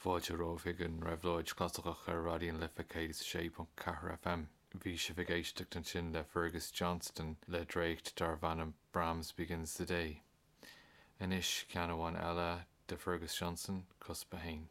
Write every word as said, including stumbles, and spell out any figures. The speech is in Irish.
Fáilte romhaibh chuig an Réabhlóid Chlasaiceach ar Raidió na Life céad sé ponc ceathair FM. Bhí sibh ag éisteacht ansin le Fergus Johnston le dréacht darb ainm Brahms Begins the Day. Anois ceann amháin eile de Fergus Johnston, cuspa haon.